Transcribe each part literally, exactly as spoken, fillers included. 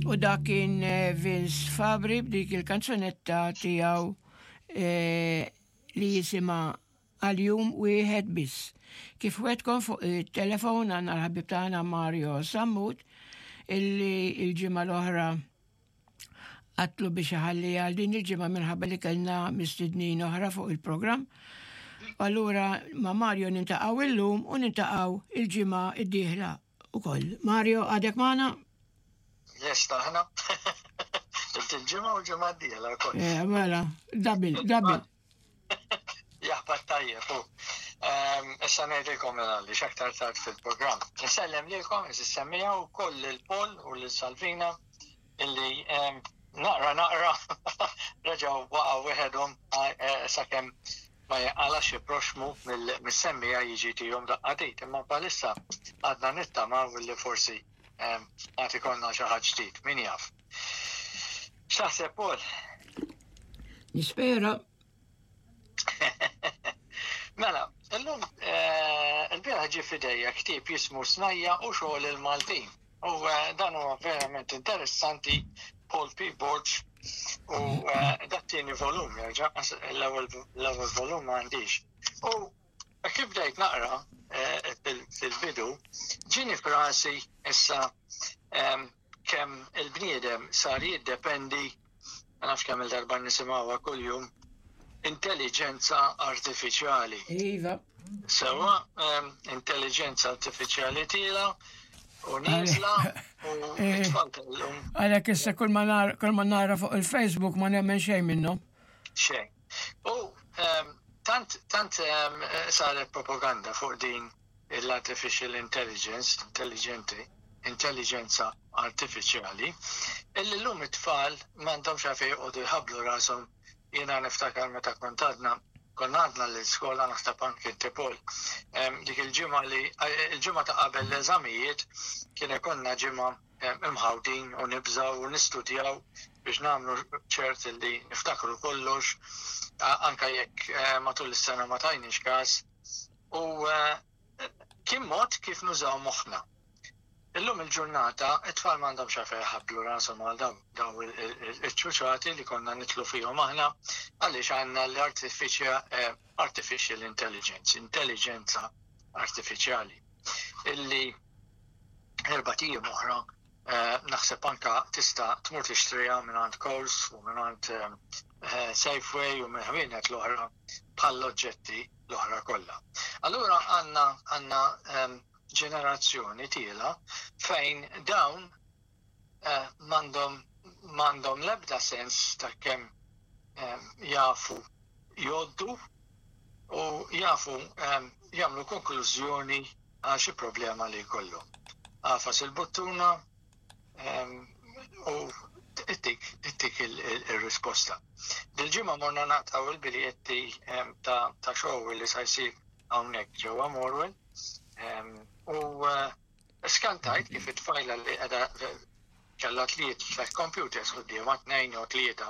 U dak kien eh, Vince Fabri b'dik il-kanzunetta tiegħu eh, li jisimha Għal Jum Wieħed Biss. Kif wegħedtkom, fuq il-telefon għandna l-ħabib tagħna Mario Sammut, illi il-ġimgħa l-oħra għedtlu biex iħalli għal din il-ġimgħa minħabba li kellna mistednin oħra fuq il-programm. Allura ma' Mario niltaqgħu illum u niltaqgħu il-ġimgħa id-dieħla ukoll. Mario, għadek magħna? Yes, taħna. Il-ġimgħa u ġimgħa d-dieħla wkoll. Eh, mela, double, double. Jaħbat tajjeb, u. Ehm, issa ngħidilkom għalli x'aktar tard fil-programm. Nsellem lilkom, is-semmiegħa u koll il-Pol u l-Salvina illi ehm, naqra naqra reġgħu waqgħu weħedhom eh, sakemm ma jinqala xi proxmu mill-semmiegħa jiġi tihom daqqa t'id. Imma bħalissa għadna nittamaw li forsi ehm, għad ikollna xi ħadd ġdid, min jaf. X'taħseb, Paul? Nispera. Mela, illum eh, il-bieraħ ġie f'idejja ktieb jismu Snajja' u Xogħol il-Maltin. U eh, dan huwa verament interessanti, Paul P. Borg, u eh, dat-tieni volum jerġa', l-ewwel l-ewwel volum ma għandix. U kif bdejt naqra fil-bidu, ġieni f'rasi issa em, kemm il-bniedem sar jiddependi, ma nafx kemm il-darba nisimgħuha kuljum, intelligenza artifiċjali. Iva. Sewa, em, intelligenza artifiċjali tiela' u nieżla u Eh. it-tfal tal-lum Għalhekk issa kull ma nara, kull ma nara fuq il-Facebook ma nemmen xejn minnhom. Xejn. U em, tant tant em, saret propaganda fuq din l-artificial intelligence, intelligenti, intelligenza artificiali, illi l-lum it-tfal m'għandhomx għalfejn joqogħdu jħabblu rashom. Jiena niftakar meta kont għadna konna għadna l-iskola, naħseb anke inti, Paul. Em, dik il-ġimgħa li il-ġimgħa ta' qabel l-eżamijiet kien ikollna ġimgħa em, imħawdin u nibżaw u nistudjaw biex nagħmlu ċert li niftakru kollox, a- anka jekk eh, matul is-sena ma tajniex każ. U eh, kien mod kif nużaw moħħna. Illum il-ġurnata, it-tfal m'għandhomx għalfejn jħabblu rashom għal daw daw il- il- il-ċuċati li konna nidħlu fihom aħna, għaliex għandna l-artificial eh, artificial intelligence, intelligenza artificiali, illi erbat ijiem oħra eh, naħseb anka tista' tmur tixtriha minn Coles u minn eh, Safeway u minn ħwienet l-oħra bħall-oġġetti l-oħra kollha. Allura għandna għandna em, ġenerazzjoni tiela' fejn dawn eh, m'għandhom m'għandhom l-ebda sens ta' kemm em, jafu jgħoddu u jafu em, jagħmlu konklużjoni għal xi problema li jkollhom. Agħfas il-buttuna em, u ittik ittik il-risposta. Dil-ġimgħa morna naqtgħu il-biljetti em, ta' ta' show li sa jsir hawnhekk ġewwa Morwell. Em, U eh, skantajt kif it-tfajla li qiegħda kellha tliet tliet computers quddiemha, tnejn jew tlieta,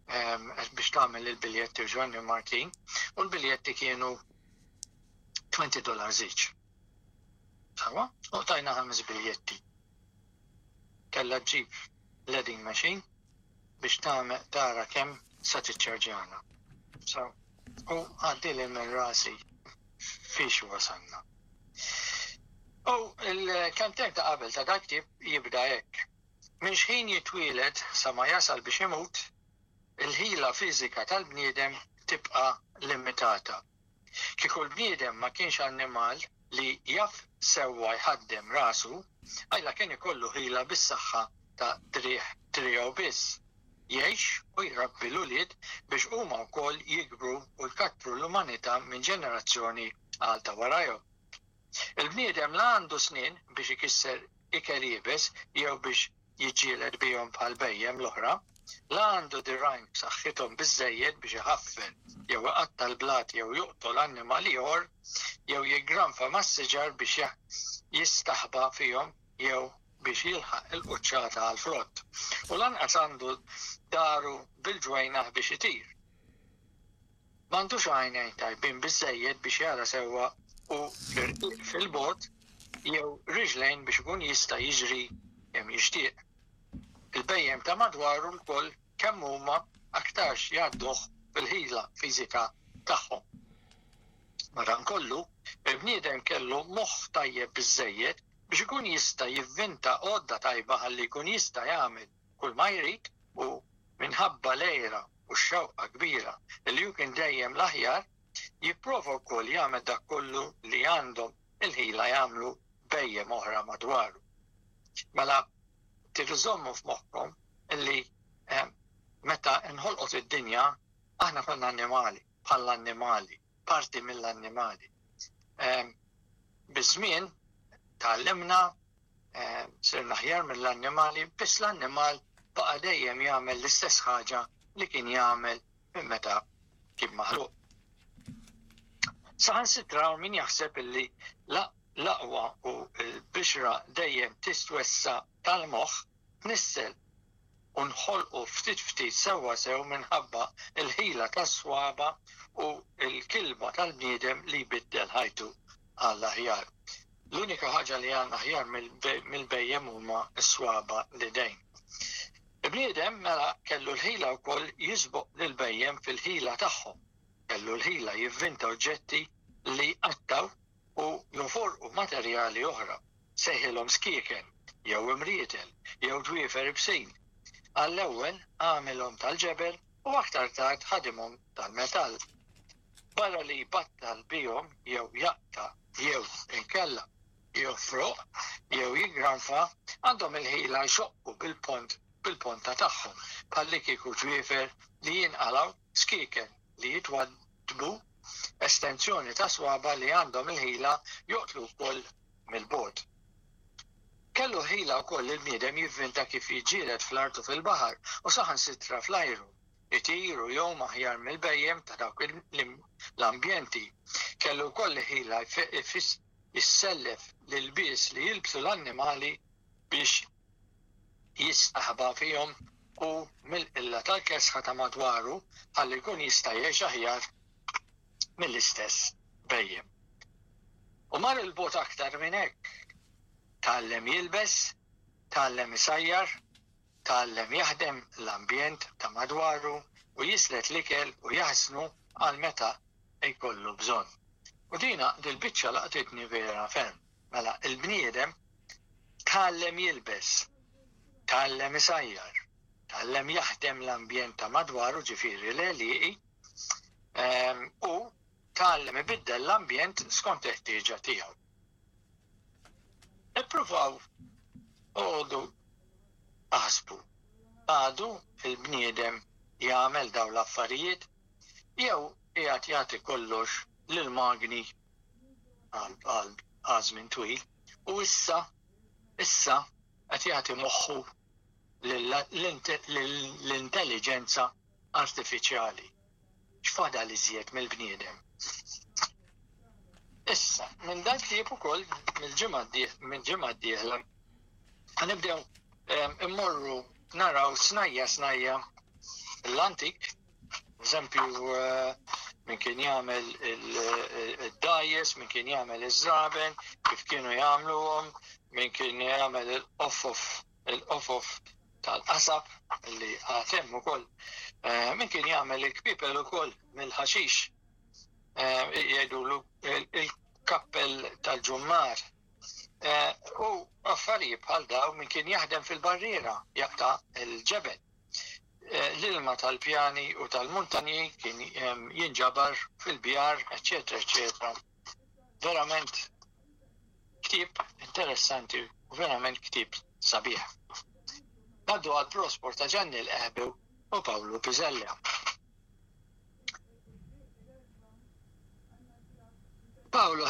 em, biex tagħmel il-biljetti u Ġwanni Martin, u l-biljetti kienu twenty dollars each. Sawa? U tajna ħames biljetti. Kellha ġġib l-adding machine biex tagħmel tara kemm sa tiċċarġjana. So, u għaddieli minn rasi fiex wasalna. U il-kelmtejn ta' qabel ta' dak ktieb jibda hekk. Minn xħin jitwieled sa ma jasal biex imut, il-ħila fiżika tal-bniedem tibqa' limitata. Kieku l-bniedem ma kienx annimal li jaf sewwa jħaddem rasu, għajla kien ikollu ħila bis-saħħa ta' driegħ driegħu biss. Jgħix u jrabbi l-ulied biex huma wkoll jikbru u jkattru l-umanità minn ġenerazzjoni għal ta' warajhom. Il-bniedem la għandu snien biex ikisser ikel iebes jew biex jiġġieled bihom bħal bhejjem l-oħra, la għandu dirgħajn b'saħħithom biżejjed biex iħaffer jew iqatta' l-blat jew joqtol annimal ieħor jew jiggranfa mas-siġar biex jistaħba fihom jew biex jilħaq il-quċċata għal frott. U lanqas għandu daru bil-ġwejnaħ biex itir. M'għandux għajnejn tajbin biżejjed biex jara sewwa u fil-bogħod jew riġlejn biex ikun jista' jiġri kemm jixtieq. Il-bhejjem ta' madwaru lkoll kemm huma aktarx jgħadduh fil-ħila fiżika tagħhom. Madankollu, il-bniedem kellu moħħ tajjeb biżżejjed biex ikun jista' jivvinta għodda tajba ħalli jkun jista' jagħmel kull ma jrid u minħabba l-għira u x-xewqa kbira li hu kien dejjem l-aħjar, jipprova wkoll jagħmel dak kollu li għandhom il-ħila jagħmlu bhejjem oħra madwaru. Mela, tridu żżommu f'moħħkom illi eh, meta nħolqot id-dinja, aħna konna annimali, bħall-annimali, parti mill-annimali. Eh, biż-żmien tgħallimna, eh, sirna aħjar mill-annimali, biss l-annimal baqa' dejjem jagħmel l-istess ħaġa li kien jagħmel minn meta kien maħluq. Saħansitra min jaħseb illi l-aqwa u l-bixra dejjem tistwessa tal-moħħ tnissel u nħolqu ftit ftit sewwa sew minħabba l-ħila tas-swaba u l-kilba tal-bniedem li jbiddel ħajtu għall-aħjar. L-unika ħaġa li għandna aħjar mill-bhejjem huma s-swaba l-idejn. Il-bniedem mela kellu l-ħila wkoll jisboq lill-bhejjem fil-ħila tagħhom. Kellu l-ħila jivvinta oġġetti li jqattgħu u joforqu materjali oħra. Sejħilhom skieken, jew imrietel, jew dwiefer ibsin. Għall-ewwel għamilhom tal-ġebel u aktar tard ħadimhom tal-metall. Barra li jbattal bihom jew jaqta' jew inkella jofroq jew jiggranfa, għandhom il-ħila jxoqqu bil-pont bil-ponta tagħhom bħallikieku ġwiefer li jinqalgħu, skieken li jitwaddbu, estensjoni ta' swaba li għandhom il-ħila joqtlu wkoll mill-bogħod. Kellu ħila wkoll il-bniedem jivvinta kif jiġġieled fl-art u fil-baħar u saħansitra fl-ajru, itir u jgħum aħjar mill-bhejjem ta' dawk l-ambjenti. Kellu wkoll ħila jissellef l-ilbies li jilbsu l-annimali biex jistaħba fihom u mill-qilla tal-kesħa ta' madwaru ħalli jkun jista' jgħix aħjar mill-istess bhejjem. U mar il-bogħod aktar minn hekk. Tgħallem jilbes, tgħallem isajjar, tgħallem jaħdem l-ambjent ta' madwaru u jislet l-ikel u jaħsnu għal meta jkollu bżonn. U dina dil-biċċa laqtitni vera ferm. Mela il-bniedem tgħallem jilbes, tgħallem isajjar, tgħallem jaħdem l-ambjent ta' madwaru, ġifieri l-għelieqi, u tgħallem ibiddel l-ambjent skont il-ħtieġa tiegħu. Ippruvaw oqogħdu aħsbu, għadu il-bniedem jagħmel dawn l-affarijiet jew qiegħed jagħti kollox lill-magni għal żmien twil u issa issa qed jagħti moħħu l-intelligenza artifiċjali. X'fadal iżjed mill-bniedem? Issa, minn dan ktieb ukoll mill-ġimgħa mill-ġimgħa d-dieħla ħanibdew immorru naraw snajja snajja l-antik, eżempju min kien jagħmel id-dgħajjes, min kien jagħmel iż-żraben, kif kienu jagħmluhom, min kien jagħmel il-qofof il-qofof tal-qasab li għad hemm ukoll, min kien jagħmel il-kpipel ukoll mill-ħaxix, jgħidulu il-kappell tal-ġummar. U affarijiet bħal daw, min kien jaħdem fil-barriera jaqta' il-ġebel. L-ilma tal-pjani u tal-muntanji kien jinġabar fil-bjar, eċċetera, eċċetera. Verament ktieb interessanti u verament ktieb sabiħ. Ngħaddu għal prospor ta' Ġanni l-Qehbew u Pawlu Pisella. Pawlu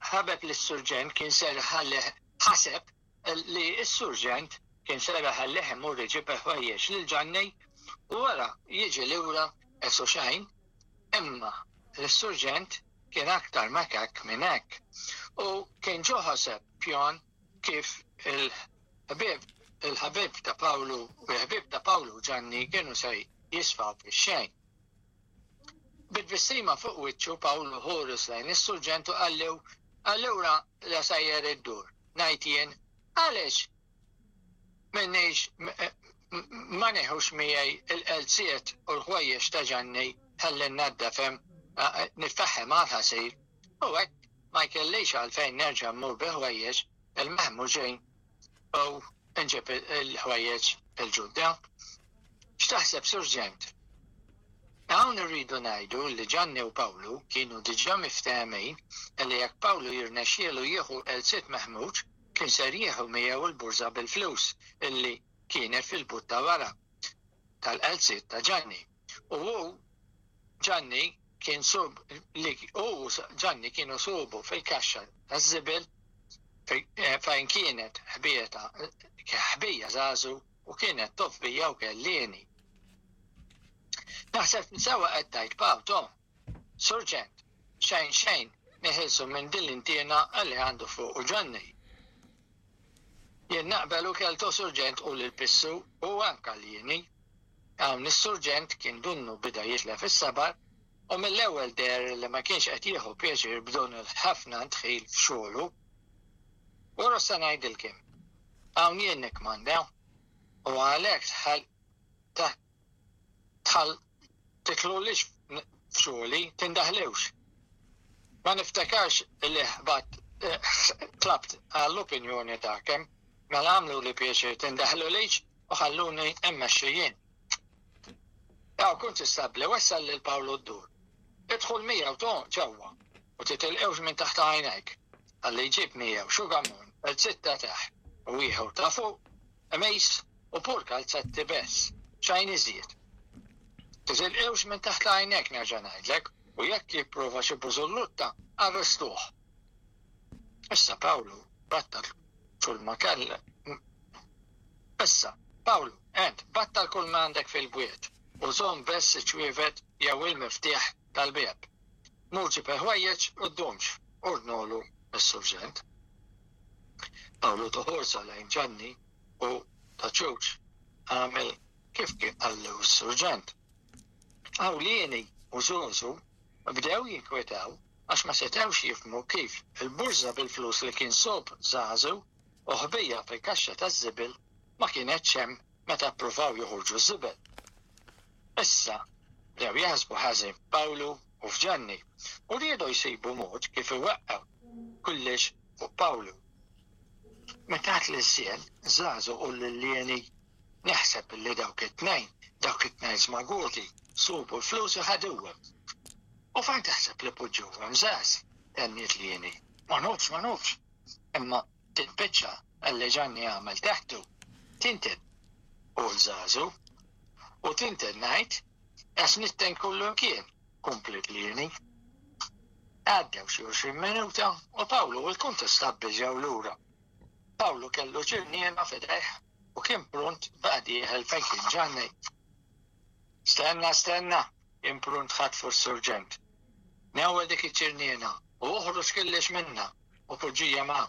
ħabeb lis-surġent kien ser ħaseb li s-surġent kien ser ħallih imur iġib ħwejjeġ lil Ġanni u wara jiġi lura esu xejn, imma l-surġent kien aktar makak minn hekk u kien ġo ħaseb pjan kif il-ħbieb il-ħabib ta' Pawlu u l-ħbieb ta' Pawlu Ġanni kienu se jisfaw fix-xejn. Bit-tbissima fuq wiċċu Pawlu ħoros lejn is-surġent u qallu allura la sejjer iddur, ngħid jien, għaliex M'inix ma neħux miegħi il-qalziet u l-ħwejjeġ ta' Ġanni ħalli nnaddafhom, nitfagħhom għal-ħasil, u hekk ma jkellix għalfejn nerġa' mmur bi ħwejjeġ il-meħmuġin u nġib il-ħwejjeġ il-ġodda. X'taħseb, Surġent? Hawn irridu ngħidu li Ġanni u Pawlu kienu diġà miftehmin li jekk Pawlu jirnexxielu jieħu qalziet meħmuġ, kien ser jieħu miegħu l-burża bil-flus illi kienet fil-but ta' wara tal-qalziet ta' Ġanni. U hu Ġanni kien sub li u Ġanni kienu subu fil-kaxxa taż-żibel fejn kienet ħbieta ħbija Żażu u kienet tofbija u kellini. Naħseb sewwa qed tgħid, Paw, to. Surġent, xejn xejn neħilsu minn din l-intiena li għandu fuq u Ġanni. Jien naqbel u kelto, Surġent, u l-pissu u anka l-jieni. Hawn is-surġent kien dunnu bida jitlef is-sabar u mill-ewwel deher li ma kienx qed jieħu pjaċir b'dun il-ħafna ndħil f'xogħlu. Wara sa ngħidilkom. Hawn jien nikkmanda u għalhekk tħall tħall titlulix f'xogħli, tindaħlewx. Ma niftakarx li ħbat tlabt għall-opinjoni tagħkom, mela għamlu li pjaċir tindaħlulix u ħalluni mmexxi jien. Jaw, kuntistabbli, wassal lil Pawlu d-dur. Idħol miegħu to ġewwa u titilqewx minn taħt għajnejk. Ħalli jġib miegħu xugamun, qalziet ta' taħt u ieħor ta' fuq, qmis u pur kalzetti bess, xejn iżjed. Titilqewx minn taħt għajnejk, nerġa' ngħidlek, u jekk jipprova xi bużullutta, arrestuh. Issa Pawlu battal kull ma kell. Issa, Pawlu, ent battal kull ma għandek fil-bwiet u żomm bess iċ-ċwievet jew il-miftieħ tal-bieb. Mur ġib il-ħwejjeġ u ddumx, ordnolu s-surġent. Pawlu toħorsa lejn Ġanni u ta' ċuċ għamel kif kien qallu s-surġent. Hawn Lieni u Żużu bdew jinkwetaw għax ma setewx jifhmu kif il-burża bil-flus li kien sob Żażu u ħbija fil-kaxxa taż-żibel ma kienetx hemm meta ppruvaw joħorġu ż-żibel. Issa bdew jaħsbu ħażin f'Pawlu u f'Ġanni u riedu jsibu mod kif iweqqgħu kullix fuq Pawlu. Meta l-żjel Żażu u lil Lieni, "Naħseb li dawk it-tnejn, dawk it-tnejn smaguti, subu l-flus u ħaduhom." "U fejn taħseb li poġġuhom, Żaż?" tenniet Lieni. "Ma nafx, ma nafx. Imma tilbiċċa li Ġanni għamel taħtu, tinten u l-Żażu. U tinten ngħid, għax nitten kullu kien," kompliet Lieni. Għaddew xi għoxrin minuta u Pawlu u l-kuntistabbli ġew lura. Pawlu kellu ċirniena f'idejh u kien prunt baqa' dieħel fejn kien Ġanni. "Stenna, stenna," imprunt ħatfu s-surġent. "Newwel dik iċ-ċirniena u uħroġ kullix minna u poġġija ma'.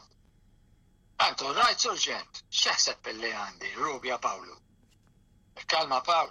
Antu rajt, Surġent, x'taħseb billi għandi, rubja Pawlu?" "Kalma, Pawl."